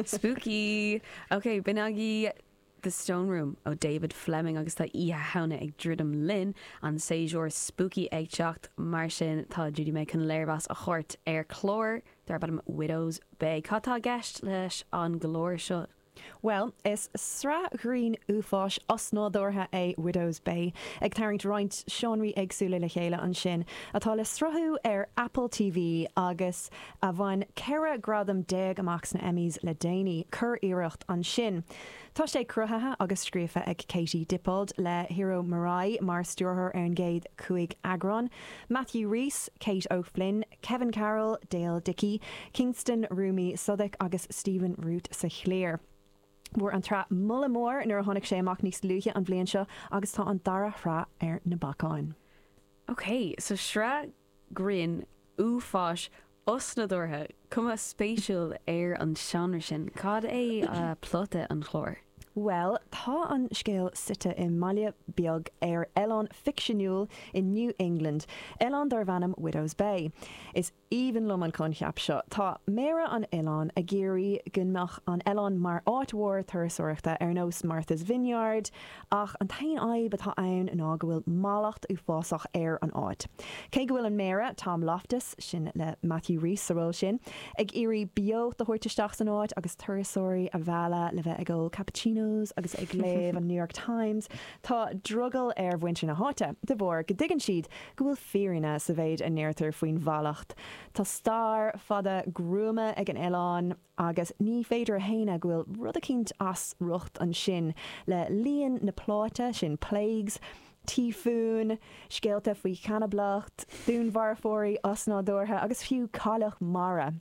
Spooky! Ok, b'in agaibh The Stone Room ó David Fleming agus tá Oíche Shamhna ag druidim linn, an séasúr spooky ag teacht, mar sin tá Judy May chun léirmheas a thabhairt ar chlár darb ainm Widow's Bay. Cad tá i gceist leis an gclár seo? Bhuel, is sraith ghrinn uafáis osnádúrtha é Widow's Bay, ag tarraingt roinnt seánraí éagsúla le chéile ansin, atá le sruthú ar Apple TV agus a bhain 14 gradam amach sna Emmys le déanaí. Curiarracht ansin. Tá sé cruthaithe agus scríofa ag Katie Dippold, le Hiro Murai mar stiúrthóir ar an gcéad chúig eagrán, Matthew Rhys, Kate O'Flynn, Kevin Carroll, Dale Dickey, Kingston Rumi Sodiq agus Stephen Root sa chliar. Fuair an tsraith moladh mór nuair a tháinig sé amach níos luaithe an bhliain seo agus tá an dara shraith ar na bacáin. Ok, so sraith grinn uafáis osnádúrtha, cuma spéisiúil ar an seánra sin. Cad é plota an chláir? Bhuel, tá an scéal suite i mbaile beag ar oileán ficseanúil i New England, oileán darb ainm Widow's Bay. Is aoibhinn liom an coincheap seo. Tá méara an oileáin ag iarraidh go mbeadh an oileán mar áit mhór turasóireachta ar nós Martha's Vineyard, ach an t-aon fhadhb atá ann ná go bhfuil mallacht uafásach ar an áit. Cé go bhfuil an méara, Tom Loftus, sin le Matthew Rhys sa ról sin, ag iarraidh beocht a thabhairt isteach san áit agus turasóirí a mhealladh le bheith ag ól cappuccinos agus ag léamh an New York Times. Tá drogall ar mhuintir na háite, de bharr go dtuigeann siad go bhfuil fírinne sa mhéid a ndeirtear faoin mhallacht. Tá stair fada gruama ag an oileán agus ní féidir a shéanadh go bhfuil rud eicínt as riocht ansin le líon na pláite, sin plagues, tíofúin, scéalta faoi chanablacht, dúnmharfóirí osnádúrtha agus fiú cailleach mara.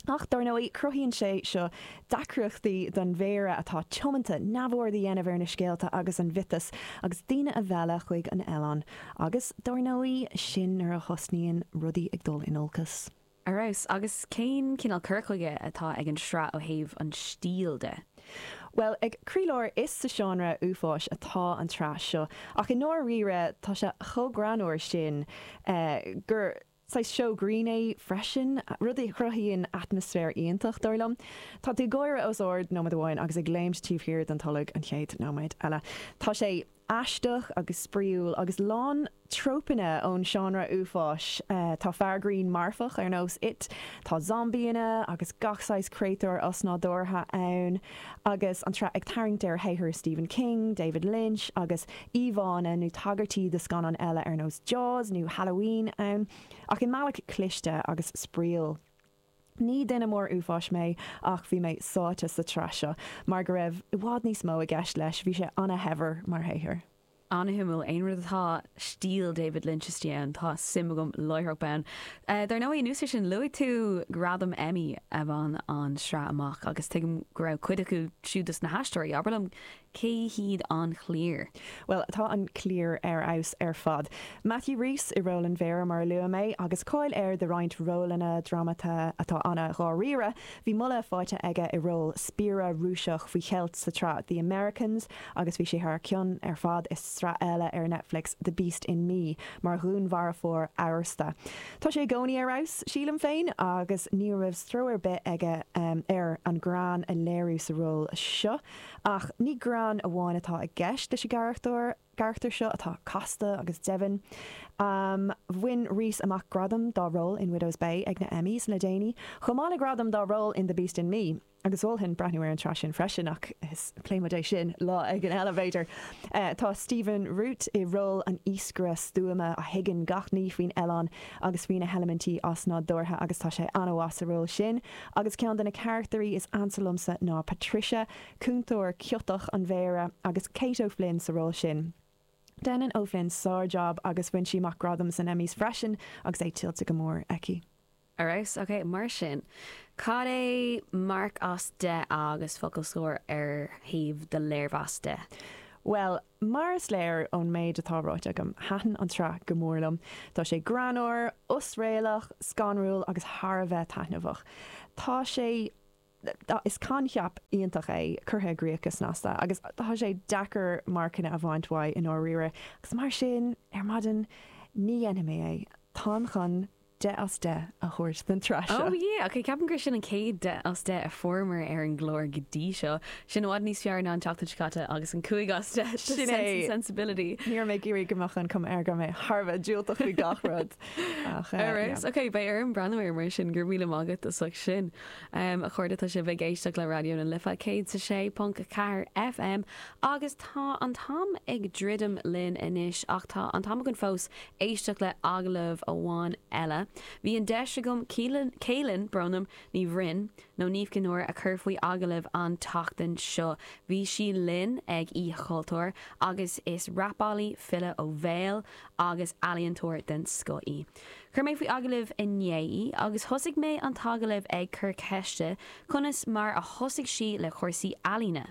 Ach, dar ndóigh, cruthaíonn sé seo deacrachtaí don mhéara atá tiomanta neamhaird a dhéanamh ar na scéalta agus an mhiotas agus daoine a mhealladh chuig an oileán. Agus, dar ndóigh, sin nuair a thosnaíonn rudaí ag dul in olcas. Ar fheabhas. Agus cén cineál cur chuige atá ag an sraith ó thaobh an stíl de? Bhuel, ag croílár is sa seánra uafáis atá an tsraith seo, ach i ndáiríre tá sé chomh greannmhar sin gur saghas seó grinn é freisin, rud a chruthaíonn atmaisféar iontach, dar liom. Tá tú ag gáire os ard nóiméad amháin agus ag léimt taobh thiar den tolg an chéad nóiméad eile. Tá sé. Aisteach agus spraíúil agus lán trópanna ón seánra uafáis. Tá fear grinn marfach ar nós It, tá zombaíanna agus gach saghas créatúr osnádúrtha ann, agus an tsraith ag tarraingt ar shaothar Stephen King, David Lynch agus íomhánna nó tagairtí do scannáin eile ar nós Jaws nó Halloween ann, ach i mbealach cliste agus spraíúil. Ní duine mór uafáis mé ach bhí mé sáite sa tsraith seo mar go raibh i bhfad níos mó i gceist leis, bhí sé ana-shaibhir mar shaothar. Ana-shuimiúil, aon rud atá stíl David Lynch istigh ann, tá suim agam láithreach bonn. Dar ndóigh, anuas air sin, luaigh tú gradam Emmy a bhain an tsraith amach agus tuigim go raibh cuid acu siúd dos na haisteoirí, abair liom Cé hiad an chliar? Bhuel, tá an cliar ar fheabhas ar fad. Matthew Rhys i ról an mhéara, mar a luaigh mé, agus cáil air do roinnt rólanna drámata atá ana-dháiríre. Bhí moladh faighte aige i ról spiaire Rúiseach faoi cheilt sa tsraith The Americans agus bhí sé thar cionn ar fad i sraith eile ar Netflix, The Beast in Me, mar dhúnmharfóir amhrasta. Tá sé i gcónaí ar fheabhas, sílim féin, agus ní raibh stró ar bith aige air an greann a léiriú sa ról seo. Ach ní greann amháin atá i gceist leis an gcarachtar, gcarachtar seo atá casta agus deimhin. Bhain Rhys amach gradam dá ról in Widow's Bay ag na Emmys le déanaí, chomh maith le gradam dá ról in The Beast in Me, agus mholfainn breathnú ar an tsraith sin freisin, ach is pléifidh muid é sin lá éigin eile, b'fhéidir. Tá Stephen Root i ról an iascaire stuama a thuigeann gach ní faoin oileán agus faoi na heilimintí osnádúrtha agus tá sé an-mhaith sa ról sin. Agus ceann de na carachtairí is ansa liomsa ná Patricia, cúntóir ciotach an mhéara, agus Kate O'Flynn sa ról sin. Déanann O'Flynn sár-jab agus bhain sí amach gradam san Emmys freisin agus é tuillte go mór aici. Ar fheabhas, ok, mar sin, cad é marc as 10 agus focal scoir ar thaobh do léirmheas de? Bhuel, Mar is léir ón méid atá ráite agam, thaitin an tsraith go mór liom. Tá sé greannmhar, osréalach, scanrúil agus thar a bheith taitneamhach. Tá sé. Is coincheap iontach é, curtha i gcrích go snasta, agus tá sé deacair marcanna a bhaint uaidh i ndáiríre. Agus mar sin, ar maidin, ní dhéanfaidh mé é. Táim chun. 10 as 10 a thabhairt don tsraith seo. Oh yeah, ok, ceapaim gur sin an chéad 10 as 10 a fuaireamar ar an gclár go dtí seo. Sin i bhfad níos fearr ná an tseachtain seo caite agus an 5 as 10 do Sin Sense é. and Sensibility. Ní raibh mé ag iarraidh go mbeadh an cuma air go raibh mé thar a bheith diúltach faoi gach rud. Ach Ar yeah. fheabhas. Ok, beidh orm breathnú air mar sin, go raibh míle maith agat as ucht sin. A chairde, tá sibh ag éisteacht le Raidió na Life 106.4 FM agus tá an t-am ag druidim linn anois ach tá an t-am againn fós éisteacht le agallamh amháin eile. Bhí an deis agam Keelin, brón orm, Ní Bhroin, nó Niamh Chinn Óir a chur faoi agallamh an tseachtain seo. Bhí sí linn ag Oíche Chultúir agus is rapálaí, file ó bhéal agus ealaíontóir den scoth í. Chuir mé faoi agallamh inné í agus thosaigh mé an t-agallamh ag cur ceiste conas mar a thosaigh sí le cúrsaí ealaíne.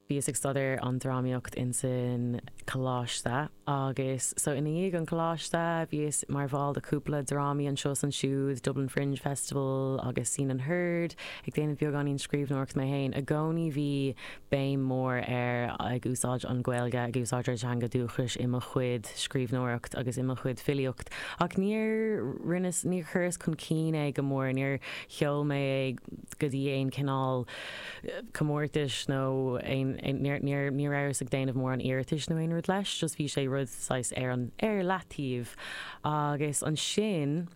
Bhíos ag staidéar an drámaíocht insan coláiste agus so ina dhiaidh an coláiste bhíos mar bhall de cúpla drámaí anseo is ansiúd, Dublin Fringe Festival agus Seen and Heard, ag déanamh beagáinín scríbhneoireacht mé féin. I gcónaí bhí béim mór ar ag úsáid an Ghaeilge, ag úsáid ár dteanga dúchais i mo chuid scríbhneoireacht agus i mo chuid filíocht ach níor rinneas, níor chuireas chun cinn é go mór, níor sheol mé é go dtí aon cineál comórtais nó aon, níor, níor, ní rabhas ag déanamh mórán iarratais nó aon rud leis, just bhí sé rud saghas ar an, ar leataobh. Agus ansin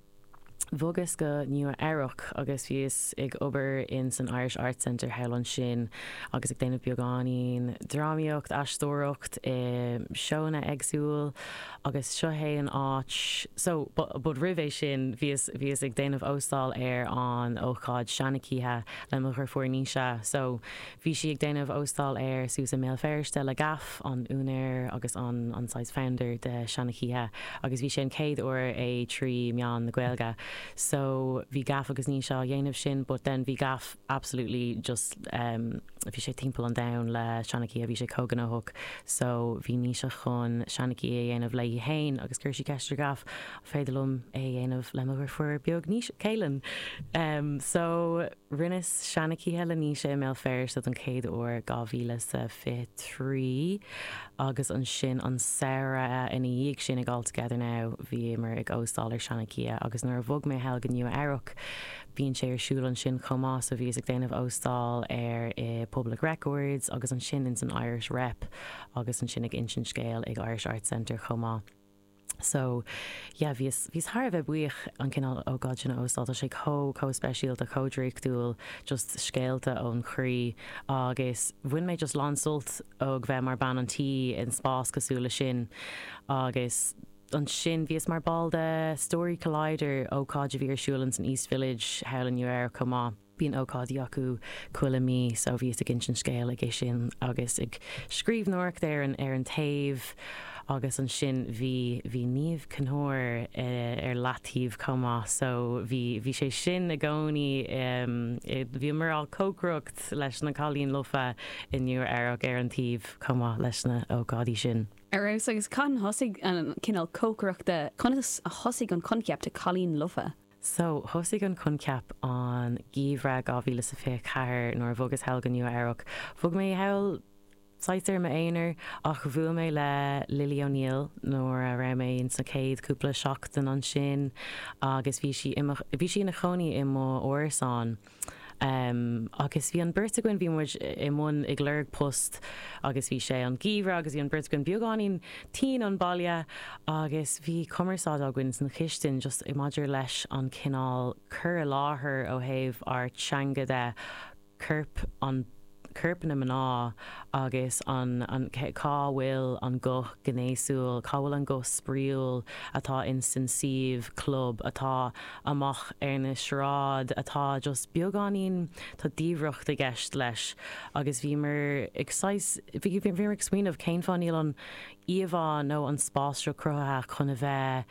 bhogas go Nua Eabhrac agus bhíos ag obair in san Irish Arts Centre thall ansin agus ag déanamh beagáinín drámaíocht, aisteoireacht i seónna éagsúil agus seo é an áit, so, but, but roimh é sin bhíos, bhíos ag déanamh óstáil ar an ócáid Seanchoíche le mo dheirfiúr Naoise. So, bhí sí ag déanamh óstáil air suas i mBéal Feirste le Gaff, an úinéir agus an an saghas founder de Seanchoíche agus bhí sé an chéad uair é trí mheán na Gaeilge. So, bhí Gaff agus Naoise á dhéanamh sin but then bhí Gaff absolutely just em bhí sé timpeall an domhain le Seanchoíche, bhí sé chomh gnóthach. So, bhí Naoise chun Seanchoíche a dhéanamh léi féin agus chuir sí ceist ar Gaff, an féidir liom é a dhéanamh le mo dheirfiúr beag Naoise, Keelin? Em so rinneas Seanchoíche le Naoise i mBéal Feirste don chéad uair 2023 agus ansin an samhradh ina dhiaidh sin ag All Together Now bhíomar ag óstáil ar Seanchoíche agus nuair a bhog mé thall go Nua Eabhrac bíonn sé ar siúl ansin chomh maith so bhíos ag déanamh óstáil air i Public Records agus ansin ins an Irish Rep agus ansin ag insint scéil ag Irish Arts Centre chomh maith. So, yeah, bhíos, bhíos thar a bheith buíoch an cineál ócáid sin a óstáil. Tá sé chomh, chomh speisialta, chomh draíochtúil, just scéalta ón chroí agus bhain mé just lán sult ó bheith mar bean an tí in spás cosúil le sin agus ansin bhíos mar ball de Story Collider, ócáid a bhí ar siúl ins an East Village thall in Nua Eabhrac chomh maith. Bíonn ócáidí acu chuile mí so bhíos ag insint scéil aige sin agus ag scríbhneoireacht ar an ar an taobh agus ansin bhí bhí Niamh Chinn Óir ar leataobh chomh maith so bhí bhí sé sin i gcónaí bhíomar á cócaireacht leis na Cailíní Lofa i Nua Eabhrac ar an taobh chomh maith leis na ócáidí sin. Ar fheabhas agus cathain a thosaigh an cineál cócaireachta, conas a thosaigh an coincheap de Cailín Lofa? So, thosaigh an coincheap an geimhreadh 2024 nuair a bhogas thall go Nua Eabhrac. Bhog mé thall saghas ar m'aonar ach bhuail mé le Lily O'Neill nuair a raibh mé ins na chéad cúpla seachtain ansin agus bhí sí i mo, bhí sí ina chónaí i mo árasán. Agus bhí an beirt againn, bhí muid i mbun ag lorg post agus bhí sé an geimhreadh agus bhí an beirt againn beagáinín tinn ón baile agus bhí cumarsáid againn san chistin just maidir leis an cineál cur i láthair ó thaobh ár teanga de, corp an corp na mná agus an an cá bhfuil an guth gnéasúil, cá bhfuil an guth spraíúil atá in san suíomh club, atá amach ar na sráid, atá just beagáinín, tá diamhracht i gceist leis agus bhíomar ag saghas, bhí, bhíomar ag smaoineamh cén fáth níl an íomhá nó an spás seo cruthaithe chun a bheith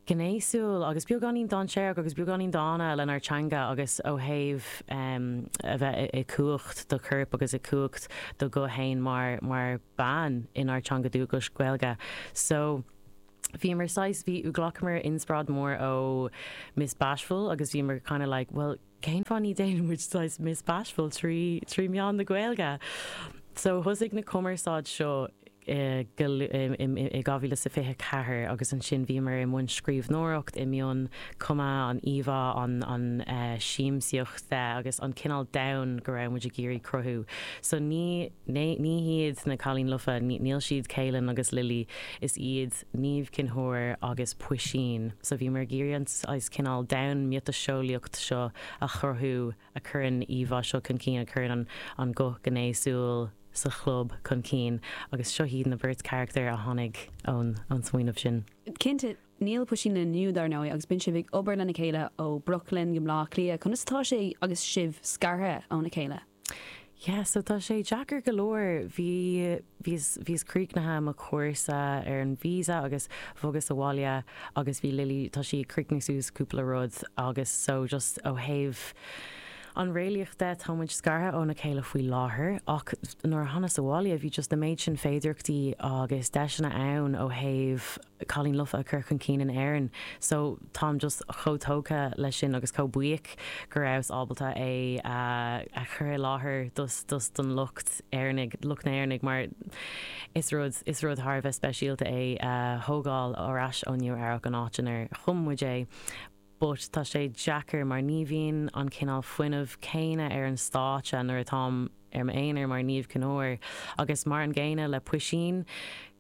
gnéasúil agus beagáinín dainséarach agus beagáinín dána lenár teanga agus ó thaobh a bheith i cumhacht do choirp agus i cumhacht do ghuth fhéin mar mar bean inár teanga dúchais, Gaeilge. So bhíomar saghas, bhí, ghlacamar inspioráid mór ó Miss Bashful agus bhíomar kind of like well cén fáth ní déanann muid saghas Miss Bashful trí trí meán na Gaeilge? So thosaigh na cumarsáid seo. i 2024 agus ansin bhíomar i mbun scríbhneoireacht, i mbun cumadh an íomhá, an siamsaíocht de agus an cineál domhan go raibh muid ag iarraidh cruthú. So ní ní hiad na Cailíní Lofa, níl siad Caelan agus Lily, is iad Niamh Chinn Óir agus Puisín. So bhíomar ag iarraidh an saghas cineál domhan miotaseolaíocht seo a chruthú a chuireann íomhá seo chun cinn, a chuireann an guth gnéasúil sa chlub chun cinn agus seo iad na beirt charachtar a tháinig ón smaoineamh sin. Cinnte, níl Puisín linn inniu, dar ndóigh, agus bíonn sibh ag obair lena chéile ó Brooklyn go Bleá Cliath. Conas atá sé agus sibh scartha óna chéile? Yeah, so tá sé deacair go leor. Bhí, bhíos, bhíos críochnaithe mo chúrsa ar an visa agus bhogas abhaile agus bhí Lily, tá sí ag críochnú suas cúpla rud agus so just ó thaobh an réalaíocht de tá muid scartha óna chéile faoi láthair ach nuair a thánas abhaile bhí just na méid sin féidireachtaí agus deiseanna ann ó thaobh Cailín Lofa a chur chun cinn in Éirinn so táim just chomh tógtha leis sin agus chomh buíoch go rabhas ábalta é a chur i láthair dos dos don lucht Éireannaigh, lucht na hÉireannaigh mar is rud is rud thar a bheith speisialta é a thógáil ar ais ó Nua Eabhrac an áit inar chum muid é but tá sé deacair mar ní bhíonn an cineál fuinnimh céanna ar an stáitse nuair atáim ar m'aonar mar Niamh Chinn Óir agus mar an gcéanna le Puisín.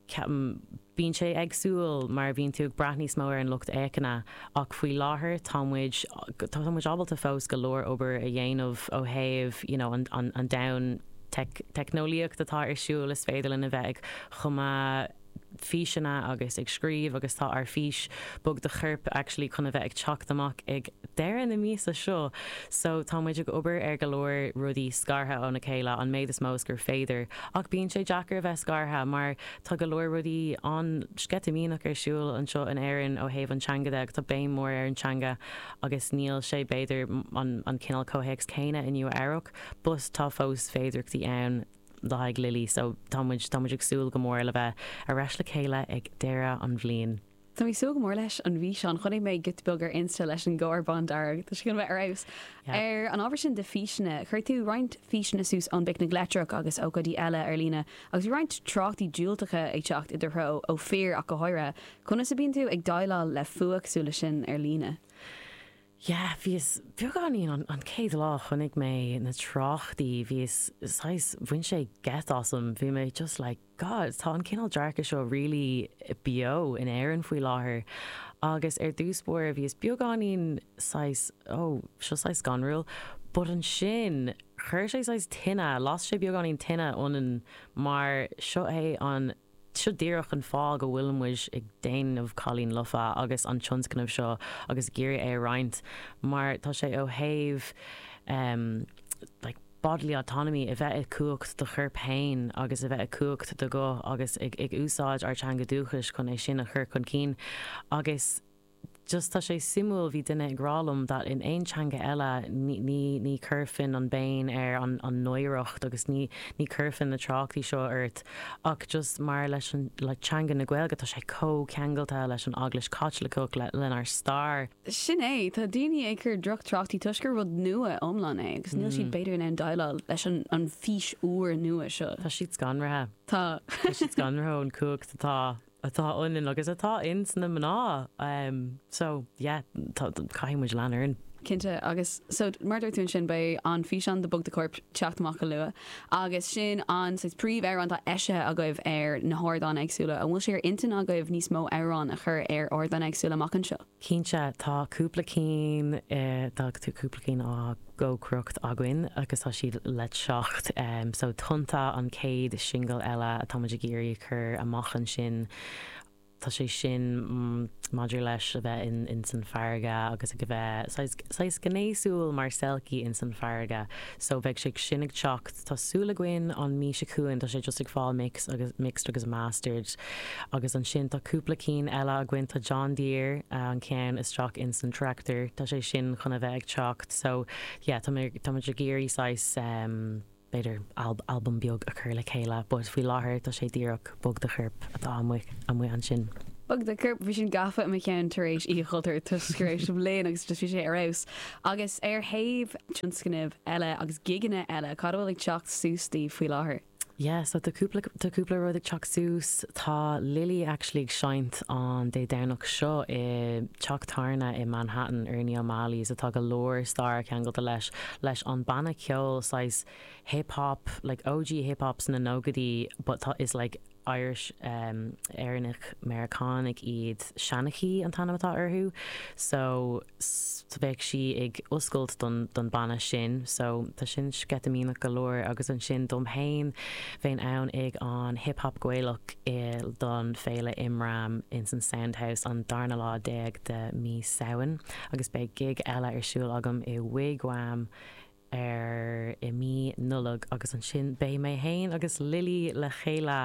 Ceapaim, bíonn sé éagsúil mar bíonn tú ag brath níos mó ar an lucht féachana ach faoi láthair tá muid, tá muid ábalta fós go leor obair a dhéanamh ó thaobh you know an, an, an domhan teic, teicneolaíocht atá ar siúl, is féidir linn a bheith ag cumadh físeanna agus ag scríobh agus tá ár fís Bog do Chorp actually chun a bheith ag teacht amach ag deireadh na míosa seo so tá muid ag obair ar go leor rudaí scartha óna chéile an méid is mó is gur féidir ach bíonn sé deacair a bheith scartha mar tá go leor rudaí an-sceitimíneach ar siúl anseo in Éirinn ó thaobh an teanga de agus tá béim mór ar an teanga agus níl sé b'fhéidir an an cineál comhthéacs céanna i Nua Eabhrac but tá fós féidireachtaí ann le haghaidh Lily so tá muid tá muid ag súil go mór le bheith ar ais le chéile ag deireadh an bhliain. Tá mé ag súil go mór leis an bhfíseán. Chonaic mé giota beag ar Insta leis an gcarr bándearg. Tá sé chun a bheith ar fheabhas. Ar an ábhar sin de físeanna, chuir tú roinnt físeanna suas ón bPicnic Leictreach agus ócáidí eile ar líne agus bhí roinnt tráchtaí diúltacha ag teacht i do threo, ó fir ach go háirithe. Conas a bíonn tú ag déileáil le fuath cosúil leis sin ar líne? Yeah, bhíos beagáinín, an, an chéad lá a chonaic mé na tráchtaí, bhíos saghas, bhain sé geit asam, bhí mé just like, God, tá an cineál dearcadh seo really beo in Éirinn faoi láthair. Agus ar dtús báire bhíos beagáinín saghas, oh, seo saghas scanrúil, but ansin chuir sé saghas tine, las sé beagáinín tine ionainn mar seo é an, seo díreach an fáth go bhfuil muid ag déanamh Cailín Lofa agus an tionscnamh seo agus ag iarraidh é a roinnt mar tá sé ó thaobh em like bodily autonomy, a bheith i cumhacht do choirp féin agus a bheith i cumhacht do ghuth agus ag ag úsáid ár teanga dúchais chun é sin a chur chun cinn agus just tá sé suimiúil, bhí duine ag rá liom that in aon teanga eile ní ní ní chuirfinn an béim ar an an náireacht agus ní ní chuirfinn na tráchtaí seo ort ach just mar leis an le teanga na Gaeilge tá sé chomh ceangailte leis an Eaglais Chaitliceach le lenár stair. Sin é, tá daoine ag cur droch-tráchtaí toisc gur rud nua iomlán é agus níl siad b'fhéidir in ann déileáil leis an an fís úr nua seo. Tá siad scanraithe. Tá. Tá siad scanraithe ón cumhacht atá atá ionainn agus atá ins na mná so yeah tá caithfidh muid lean orainn. Cinnte agus so mar a dúirt tú ansin beidh an físeán de Bog do Chorp teacht amach go luath agus sin an saghas príomh-amhrán atá eisithe agaibh ar na hardáin éagsúla. An bhfuil sé ar intinn agaibh níos mó amhrán a chur ar ardáin éagsúla amach anseo? Cinnte, tá cúpla cinn, tá cúpla cinn á gcócaireacht againn agus tá siad le teacht. So Tonnta an chéad singil eile atá muid ag iarraidh a chur amach ansin. Tá sé sin maidir leis a bheith in san farraige agus ag a bheith saghas, saghas gnéasúil mar selkie in san farraige. So beidh sé sin ag teacht, tá súil againn an mí seo chugainn, tá sé just ag fáil mix agus, mixed agus mastered. Agus ansin tá cúpla cinn eile againn, tá John Deere an ceann isteach ins an tractor, tá sé sin chun a bheith ag teacht so yeah tá mé, tá muid ag iarraidh saghas em b'fhéidir albam beag a chur le chéile but faoi láthair tá sé díreach Bog do Chorp atá amuigh, amuigh ansin. Bog do Chorp, bhí sin gafa i mo cheann tar éis Oíche Chultúir toisc go raibh sibh linn agus just bhí sé ar fheabhas. Agus ar thaobh tionscnaimh eile agus gigeanna eile, cad a bhfuil ag teacht suas daoibh faoi láthair? Yeah, so tá cúpla, tá cúpla rud ag teacht suas. Tá Lily actually ag seinnt an Dé Domhnach seo i teach tábhairne i Manhattan, Ernie O'Malley's, atá go leor stair ceangailte leis, leis an banna ceoil saghas hip hop, like OG hip hop sna nóchaidí but tá, is like Irish Éireannach Meiriceánaigh iad, Shanachie an t-ainm atá orthu so bheadh sí ag oscailt don don banna sin so tá sin sceitimíneach go leor agus ansin dom fhéin bheinn ann ag an Hip Hop Gaelach i don féile Imram ins an Soundhouse an darna lá déag de mí Samhain agus beidh gig eile ar siúl agam i Wigwam ar i mí Nollag agus ansin beidh mé fhéin agus Lily le chéile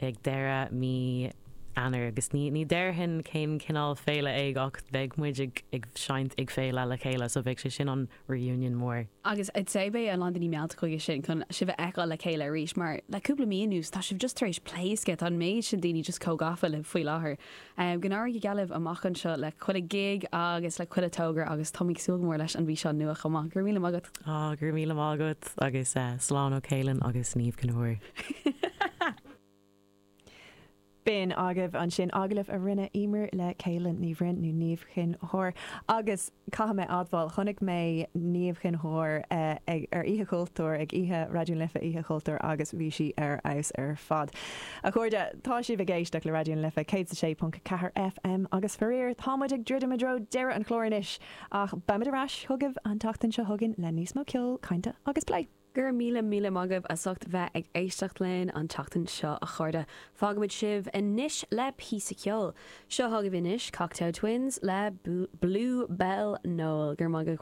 ag deireadh mí Eanáir agus ní ní déarfainn cén cineál féile é ach beidh muid ag ag seinnt ag féile le chéile so beidh sé sin an reunion mór. Agus I'd say beidh a lán daoine meallta chuige sin chun sibh a fheiceáil le chéile arís mar le cúpla mí anuas tá sibh just tar éis pléascadh, tá an méid sin daoine just chomh gafa libh faoi láthair. Go n-éirí go geal libh amach anseo le chuile gig agus le chuile togra agus táim ag súil go mór leis an bhfíseán nua chomh maith. Go raibh míle maith agat. Á, go raibh míle maith agat agus slán ó Kealan agus Niamh Chinn Óir. B'in agaibh ansin agallamh a rinne Eimear le Kealan Ní Bhroin nó Niamh Chinn Óir agus caithfidh mé admháil, chonaic mé Niamh Chinn Óir ag ar Oíche Chultúir, ag Oíche Raidió na Life Oíche Chultúir agus bhí sí ar fheabhas ar fad. A chairde, tá sibh ag éisteacht le Raidió na Life 106.4 FM agus faraor, tá muid ag druidim i dtreo deireadh an chláir anois, ach beimid ar ais chugaibh an tseachtain seo chugainn le níos mó ceoil, cainte agus plé. Go raibh míle míle maith agaibh as ucht bheith ag éisteacht linn an tseachtain seo, a chairde. Fágaimid sibh anois le píosa ceoil. Seo chugaibh anois Cocteau Twins le Blue Bell Noel. Go raibh maith agaibh.